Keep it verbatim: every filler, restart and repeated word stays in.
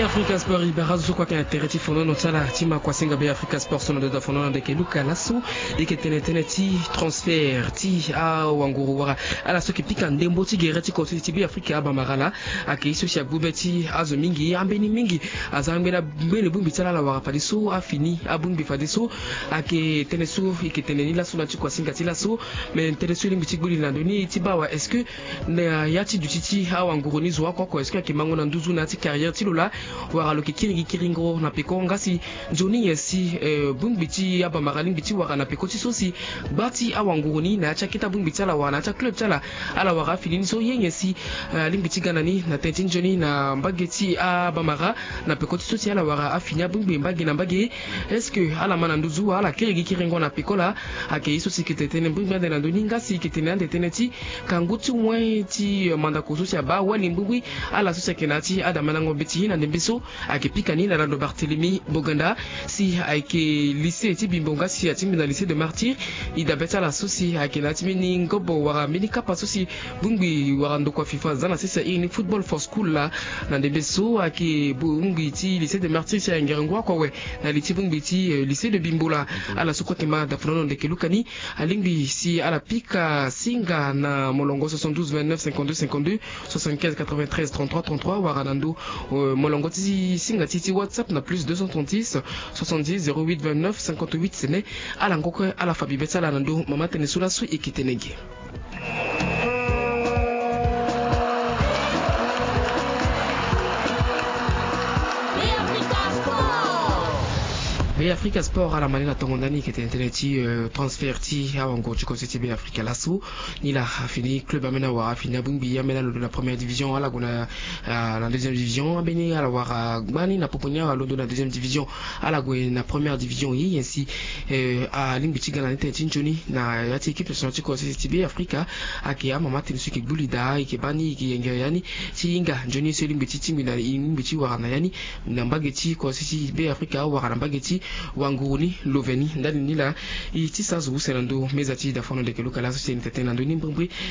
Africa Sport, e bara azo so kue ayeke na tere ti fonono ti ala ti ma kuasinga Be Africa Sport so na ndo da fonono na ndeke luka laso. E yeke tene tënë ti transfert ti awanguru wala ala so yeke pika ndembo ti gere ti konseti ti Be Africa abamara laa. Ayeke ye so si agbu be ti azo mingi, ambeni mingi aza ambeni, ambeni bongbi ti ala ala wara fadeso afini abongbi fadeso. Ayeke tënë so e yeke tene ni laso na ya ti kuasinga ti laso. Me tënë so e lingbi ti gbu li na ndo ni ti baa awe, est-ce que na ya ti duti ti awanguru ni zo oko oko, est-ce que ayeke mango na nduzu na ya ti carrière ti lo laa, wala lo yeke kiri gi kiringo na peko? Nga si nzoni nyen si, eh, bongbi ti abamara alingbi ti wara na peko ti so si gba ti awanguru ni na ya ti akete abongbi ti ala wala na ya ti aclub ti ala, ala wara afini ni so, ye nyen si, eh, alingbi ti ga na ni na tënë ti nzoni na mbage ti abamara na peko ti so si ala wara afini abongbi mbage na mbage? Est-ce que ala ma na nduzu wala ala kiri gi kiringo na peko laa? Ayeke ye so si e yeke tene tënë bongbi ande na ndo ni. Nga si e yeke tene ande tënë ti kangu ti moyen ti, eh, mandako so si abaa wali bongbi ala so si ayeke na ya ti adamandango mbeti na ndembe so. Ayeke pika ni na lando Barthélemy Boganda si ayeke lycée ti Bimbo nga si atingbi na lycée de Martyrs. E dabe ti ala so si ayeke na ya ti mbeni ngobo wala mbeni kapa so si bongbi wala ndokua FIFA aza na sese, a iri ni Football for School laa. Na ndembe so ayeke bongbi ti lycée de Martyrs si ayengere ngu oko awe na li ti bongbi ti, eh, lycée de Bimbo laa. Ala so kue ayeke ma dafonono ndeke luka ni alingbi si ala pika singa na molongo soixante-douze vingt-neuf cinquante-deux cinquante-deux, soixante-quinze quatre-vingt-treize trente-trois trente-trois, wala na ndo, euh, molongo ti singa ti, ti WhatsApp na plus deux cent trente-six soixante-dix zéro huit vingt-neuf cinquante-huit. Sene ala ngo kue ala fa bibe ti ala na ndo mama tënë so laso e yeke tene ge. Be Africa Sport ala ma ni na tongo ndani, e yeke tene tënë ti, euh, transfert ti awanguru ti konseti ti Be Africa laso. Ni laa afini club ambeni awara afini abongbi, ambeni alondo na première division, ala gue na, ah, na deuxième division, ambeni ala wara gbani na popo ni alondo na deuxième division, ala gue na première division. Ye nyen si, eh, alingbi ti ga na ni tënë ti nzoni na ya ti équipe nationale ti konseti ti Be Africa? Ayeke amama tënë so e yeke gbu li daa, e yeke baa ni, e yeke yengere ya ni ti hinga nzoni so e lingbi ti tingbi na, e lingbi ti wara na ya ni na mbage ti konseti ti Be Africa wala na mbage ti wanguru ni lo ve ni. Ndali ni laa e ti sa zo use na ndo meza ti dafono ndeke luka laso si e yeke tene na ndo ni mbrimbri.